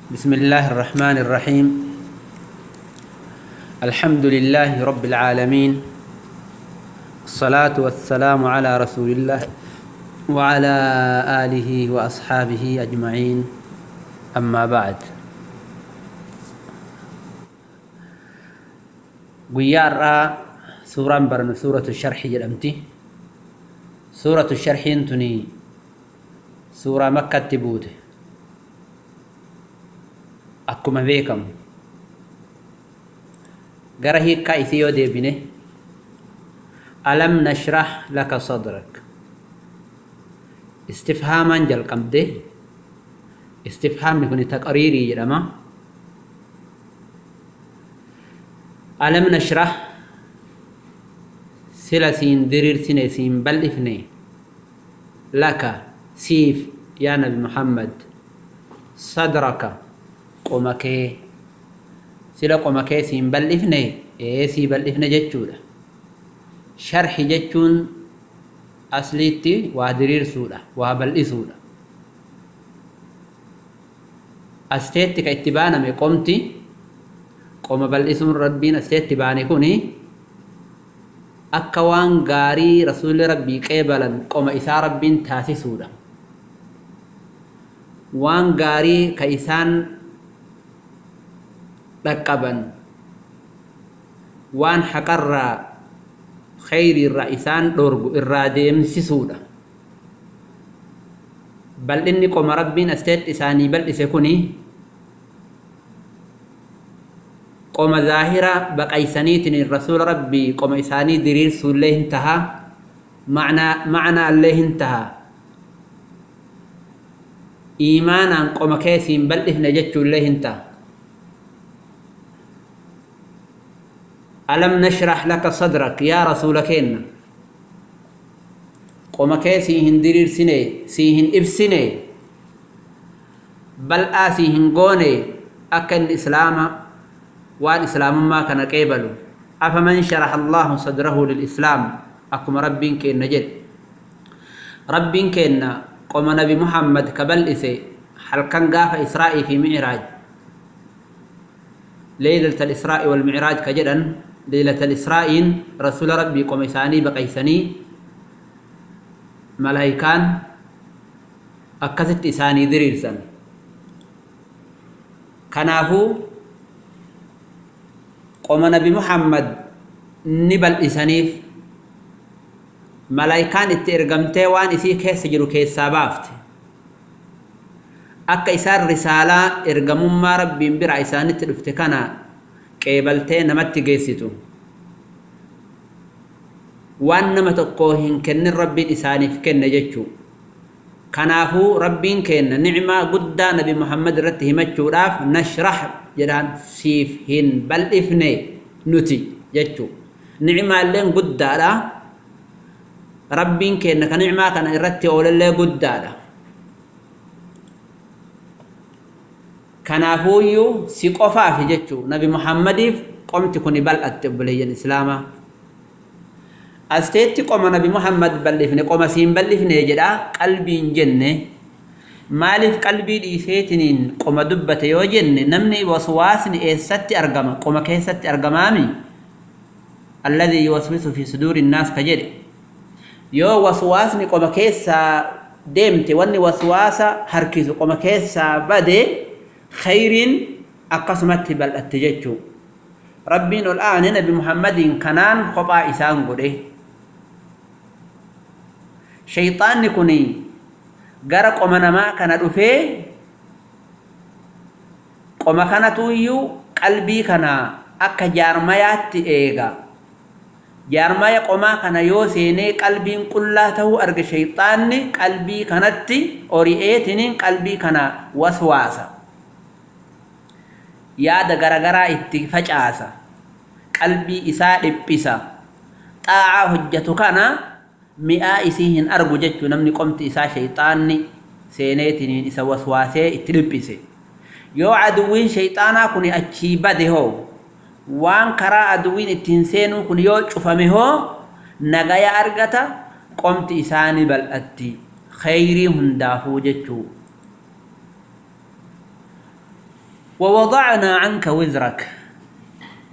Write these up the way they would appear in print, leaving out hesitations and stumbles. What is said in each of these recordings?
بسم الله الرحمن الرحيم. الحمد لله رب العالمين، الصلاة والسلام على رسول الله وعلى آله وأصحابه أجمعين، أما بعد. Guyyaa suuraan barannu سورة الشرح jedhamti. سورة الشرح tuni suuraa Makkatti buute. Akkuma beekamu, gara hiikkaa isii yoo deebine, ألم نشرح لك صدرك istifhaamaan jalqabde. Istifhaamni kun taqriirii jedhama. ألم نشرح, sila siin diriirsine, siin bal'ifne, لك siif, yaa Nabi Muhammad, صدرك qoma kee, sila qoma kee siin bal'ifne? Ee, sii bal'ifne jechuudha. Sharhi jechuun asliitti waa diriirsuudha, waa bal'isuudha. Asteetti ka itti baaname qomti, qoma bal'isuun Rabbiin asteetti baane kuni akka waan gaarii Rasuulli Rabbii qeebalan qoma isaa Rabbiin taasisuudha. Waan gaarii ka isaan dhaqqaban, waan haqarraa, khayriirraa isaan dhorgu irraa deemsisuudha. Bal'inni qoma Rabbiin asteetti isaanii bal'ise kuni qoma zaahira baqaysaniitiin Rasuula Rabbii qoma isaanii diriirsuullee hin taha, ma'naallee hin taha, iimaanaan qoma keessiin bal'ifne jechuullee hin taha. ألم نشرح لك صدرك, yaa Rasuula keenna, qoma kee sii hin diriirsine, sii hin ibsine, bal'aa sii hin goone, akka inni Islaama, waan Islaamummaa kana qeebalu? أفمن شرح الله صدره للإسلام, akkuma Rabbiin keenna jedhe. Rabbiin keenna qoma Nabi Muhammad ka bal'ise halkan gaafa Israa'ii fi Micraaj, ليلة الإسراء والمعراج ka jedhan. ليلة الإسراء Rasuula Rabbii qoma isaanii baqaysanii, malaayikaan akkasitti isaanii diriirsan. Kanaafuu qoma Nabi Muhammad ni bal'isaniif, malaayikaan itti ergamtee waan isii keessa jiru keessaa baafte, akka isaan risaalaa ergamummaa Rabbiin bira isaanitti dhufte kana qeebaltee namatti geessitu. Waan nama tokko hin kennin Rabbiin isaaniif kenne jechuu. Kanaafuu Rabbiin kenna nicmaa guddaa Nabi Muhammad irratti himachuudhaaf نشرح jedhaan, siif hin bal'ifne nuti jechuu. Nicmaalleen guddaadha. Rabbiin kenna ka nicmaa kana irratti oolallee guddaadha. Kanaafuuyyuu si qofaafi jechuu, Nabi Muhammadiif qomti kuni bal'atte. Obboleeyyan Islaamaa, asteetti qoma Nabi Muhammad bal'ifne, qoma siin bal'ifne jedha, qalbiin jenne. Maaliif qalbii dhiiseetiniin qoma dubbate yoo jenne, namni waswaasni eessatti argama? Qoma keessatti argamaami. الذي يوسوس في صدور الناس ka jedhe. Yoo waswaasni qoma keessaa deemte, wanni waswaasa harkisu qoma keessaa bade, khayriin akkasumatti bal'atte jechuu. Rabbiin ol aane Nabi Muhammadiin kanaan kophaa isaan godhe. Shayxaanni kun gara qoma namaa kana dhufee, qoma kanatuyyuu qalbii kana akka jaarmayaatti eega. Jaarmaya qomaa kana yoo seenee qalbiin qullaa ta'uu arge, shayxaanni qalbii kanatti ori'eetiniin qalbii kana waswaasa, yaada garagaraa itti facaasa, qalbii isaa dhiphisa, xaa'aa hojjetu kana mi'aa isii hin argu jechuu. Namni qomti isaa shayxaanni seeneetiniin isa waswaasee itti dhiphise, yoo aduwwiin shayxaanaa kun achii bade hoo, waan karaa aduwwiin ittiin seenuu kun yoo cufame hoo, nagaya argata, qomti isaanii bal'atti, khayrii hundaafuu jechuu. ووضعنا عنك وزرك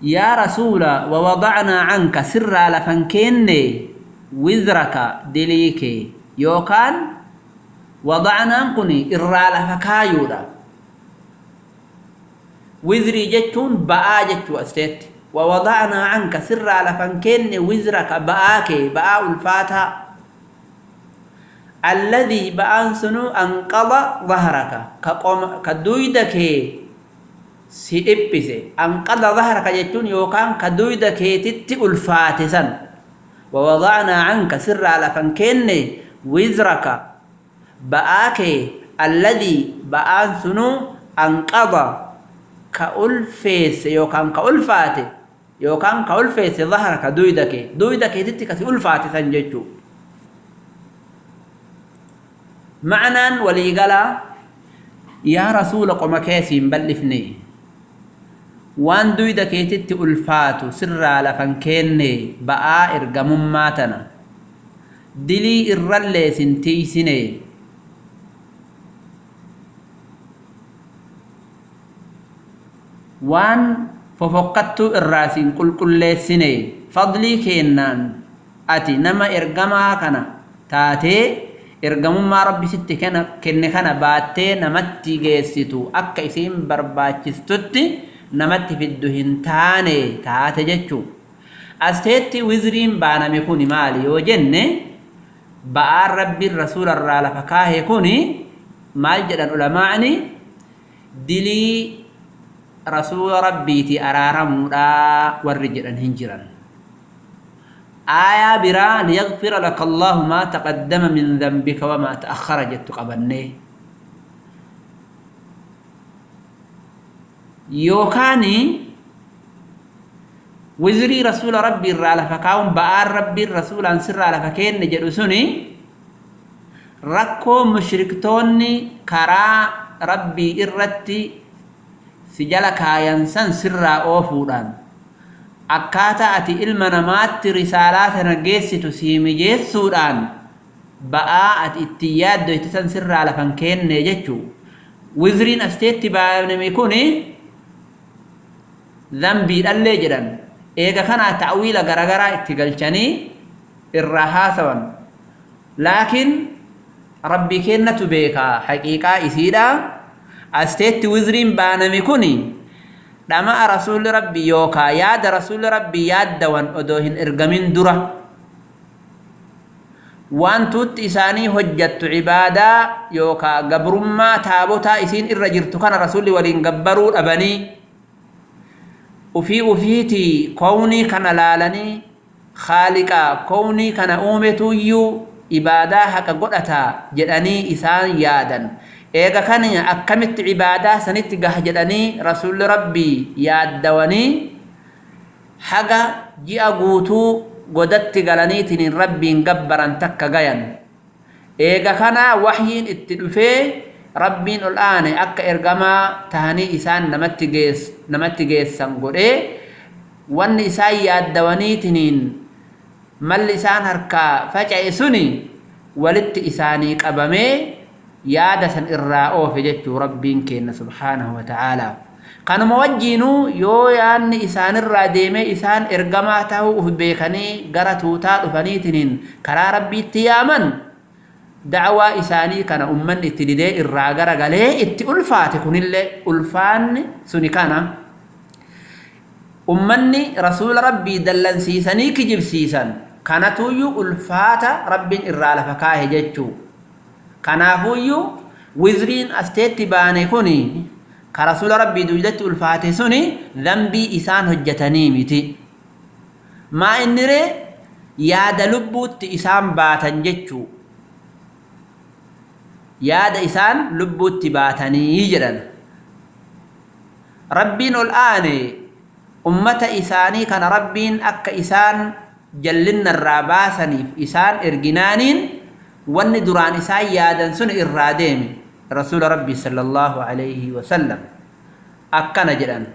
يا رسول، ووضعنا عنك سر لفنكين وزرك دليك يوكان وضعنا كني إرى لفكايودا وزري جتون بآ جتو أستيت ووضعنا عنك سر لفنكين وزرك بآك بآ الفاتح الذي بأنسنو أنقض ظهرك كدويدك سيبسي أنقض ظهرك جتون يوكان كدويدك تتي الفاتسا ووضعنا عنك سر لفنكين وزرك بآك الذي بأنسنو أنقض كألفيس يوكان كألفاتي يوكان كألفيس ظهرك دويدك دويدك تتي كسي ألفاتسا جتو معنى وليقلا يا رسول قم كيسين بلفني وان دويدك تتي ألفاتو سر لفنكيني بآ إرقم ماتنا دلي إرلي سنتيسيني وان ففقدت الراسين كل كل سنة فضلي كينان أتي نما إرقما كنا تاتي إرقم ما ربي ست كنا كن كنا باتي نمتي جيستو أكا إسين برباچستوتي نمتي في الدهن تاني تاتي جتشو أستيتي وزرين بانا ميكوني مالي وجنة بآر ربي الرسول الرالة فكاه يكوني مال جدن علماءني دلي رسول ربي تي أرارمودا والرجل هنجرا آية برا ليغفر لك الله ما تقدم من ذنبك وما تأخر جت قبلني يوكاني وزري رسول ربي الرالة فكاون بآر ربي الرسول عن سر على فكين نجلسوني ركو مشركتوني كرا ربي إرتي سجل كاينسان سر أوفودان أكاتا أتي إلما نمات رسالات نجيستو سيمجيسودان بآ أتي اتياد دويتسان سر على فنكين نجتشو وزرين أستيتي بانميكوني ذنبي اللي جدن إيغا كان تأويل غرغرا اتقلشاني الرهاسوان لكن ربي كينة بيكا حقيقة إسيدا أستيت وزرين بانميكوني لما رسول ربي يوكا ياد رسول ربي ياد دوان أدوهن إرقمين درة وان توت إساني هجت عبادة يوكا قبرما تابوتا إسين إرجرت كان رسولي ولين قبروا أبني وفي وفيتي كوني كان لالني خالقا كوني كان أومتو يو إبادة حق قدتا جدني إسان يادا إيغا كان أكمت عبادة سنت جدني رسول ربي يادوني حق جي أغوتو قدت غلاني تنين ربي نقبرا تكا غيان إيغا كان وحيين اتدفي ربين الآن أكا إرقما تهني إسان نمت جيس سنقول وان إسان يادوني تنين مال إسان هركا فجأة سني ولدت إساني قبمي يادا سن إراءو في جتو ربين كينا سبحانه وتعالى كانوا موجينو يو يان إسان الراديمي إسان إرقما تهو أفبيكني قرتو تالفني تنين كرا ربي تيامن دعوة إساني كان أمن اتدي الراغرة قالي اتي ألفات كن اللي ألفان سني كان أمني رسول ربي دلن سيساني كجب سيسان كانتو يو ألفات ربي إرالة فكاه جتشو كانافو يو وزرين أستيتي باني كوني كرسول ربي دوجدت ألفات سني ذنبي إسان هجتني متي ما إنري يا دلبوت إسان باتن جتشو yaada isaan lubbuutti baatanii jedhan rabbiin ol aane ummata isaanii kana rabbiin akka isaan jallinna irraa baasaniif isaan erginaaniin wanni duraan isaan yaadan sun irraa deeme rasuula rabbii sallallahu alayhi wasallam akkana jedhan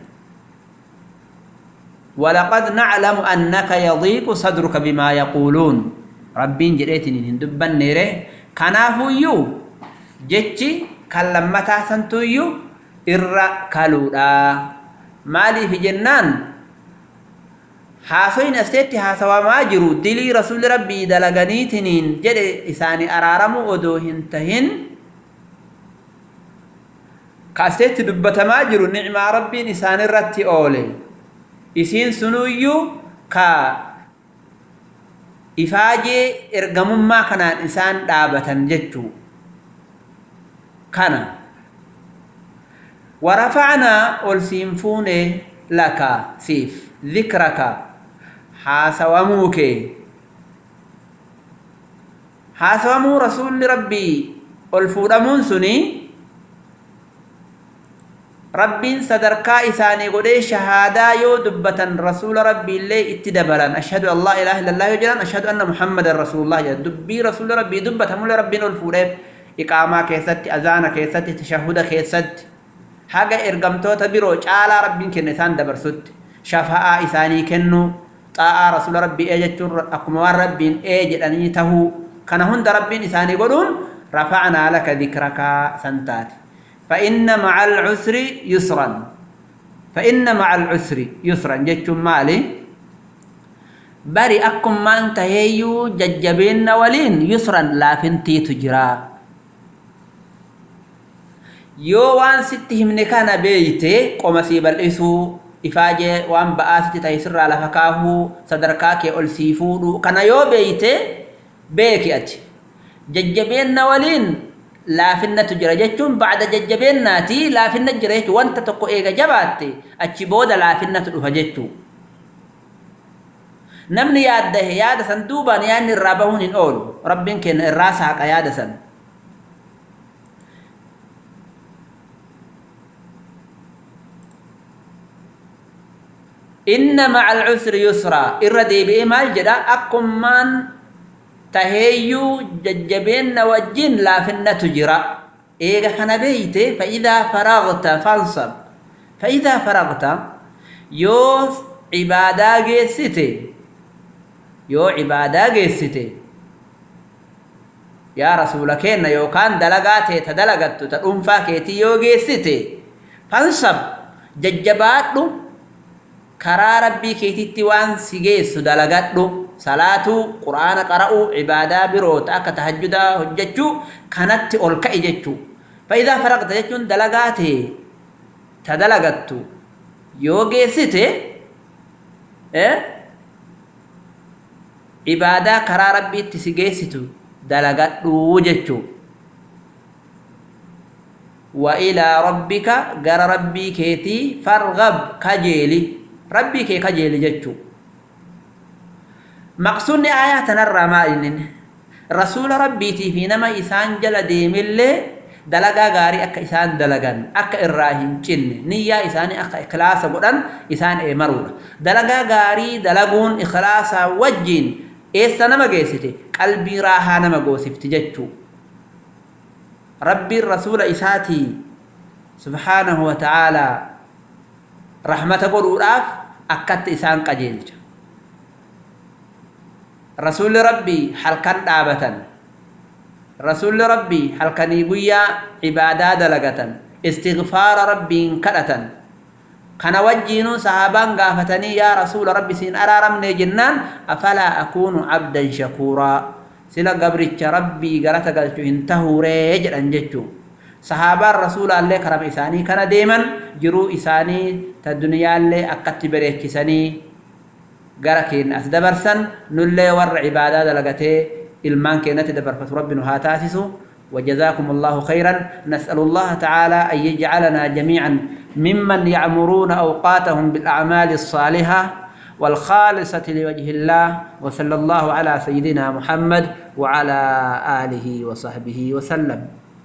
ولقد نعلم أنك يضيق صدرك بما يقولون ربين جريتني هندبن نيره كنافو يو جتشي كلمتا سنتو يو Irra kaluudha. Maaliif jennaan haasoyin asteetti haasawamaa jiru dilii rasuulli rabbii dalaganiitiniin jedhe isaanii araaramuu odoo hin tahin ka asteetti dubbatamaa jiru nicmaa rabbiin isaanirratti oole isiin sunuyyuu ka ifaajee ergamummaa kanaan isaan dhaabatan jechuu kana. ورفعنا ألسينفون لك سيف ذكرك حاسواموك حاسوامو رسول ربي ألفورمون سني ربي صدركا إساني قدي شهادة يو دبة رسول ربي اللي اتدبلا أشهد أن لا إله إلا الله يجلان أشهد أن محمد رسول الله دبي رسول ربي دبة مول ربي ألفورم إقامة كيست أذان كيست تشهد كيست haga ergamtoota biroo caalaa rabbiin kenne isaan dabarsutti shafa'aa isaanii kennu xaa'aa rasuula rabbii ee jechuun akkuma waan rabbiin ee jedhanii tahuu kana hunda rabbiin isaanii godhuun rafa'naa laka dhikrakaa san taate. Fa'inna ma'al cusri yusran. Fa'inna ma'al cusri yusran jechuun maali? Bari akkumaan taheeyyuu jajjabeenna waliin yusran laafintiitu jira. Yoo waan sitti himne kana beeyte qoma sii bal'isuu ifaajee waan ba'aa sitti ta'e sirraa lafa kaahuu sadarkaa kee ol sii fuudhuu kana yoo beeyte beeki ati jajjabeenna waliin laafinnatu jira jechuun ba'da jajjabeennaati laafinna jira jechuun wanta tokko eega jabaatte achi booda laafinnatu dhufa jechuu. Namni yaaddahe yaada san duubaan yaadni irraa bahuun hin oolu rabbiin kenna irraa saaqa yaada san. إن مع العسر يسرا إردي بإمال جدا أكمان تهيو ججبين وجين لا فنة تجرا إيغا خنبيت فإذا فرغت فانصب فإذا فرغت يو عبادة جيستي يو عبادة جيستي يا رسولك إن يو كان دلقاتي تدلقت تأنفا كيتي يو جيستي فانصب ججباتلو karaa rabbii keetitti waan si geessu dalagadhu salaatuu quraana qara'uu cibaadaa biroota akka tahajjudaa hojjechuu kanatti ol ka'i jechuu. Fa'idaa faraqta jechuun dalagaa ta'e ta dalagattu yoo geessite cibaadaa karaa rabbiitti si geessitu dalagadhuu jechuu. Wa ilaa rabbika gara rabbii keetii farghab kajeeli ربي كي كجيل جتشو. مقصود آيات نرى ما إنن رسول ربي تي في نما إسان جل ديمل دلقا غاري أكا إسان دلقان أكا إراهن جن نية إسان أكا إخلاص قرآن إسان إمرون دلقا غاري دلقون إخلاص وجين إيسا نما جيستي قلبي راها نما قوسفت جتشو. ربي الرسول إساتي سبحانه وتعالى رحمة قرؤاف أكدت إسان قجيلج رسول ربي حلقا دابة رسول ربي حلقا نيقيا عبادة دلقة استغفار ربي كرة كان وجينو صحابان قافتني يا رسول ربي سين أرارمني جنان أفلا أكون عبدا شكورا سلا قبرك ربي قرأت قلت انتهوا ريجل أنجتشو صحابة الرسول الله كرم إساني كان ديما جرو إساني تدنيا اللي أكت بريكساني قرأكين أسدبرسن نلي ور عبادة دلقته إلمان كينت دبر فتربنا هاتاسسو. وجزاكم الله خيرا. نسأل الله تعالى أن يجعلنا جميعا ممن يعمرون أوقاتهم بالأعمال الصالحة والخالصة لوجه الله، وصلى الله على سيدنا محمد وعلى آله وصحبه وسلم.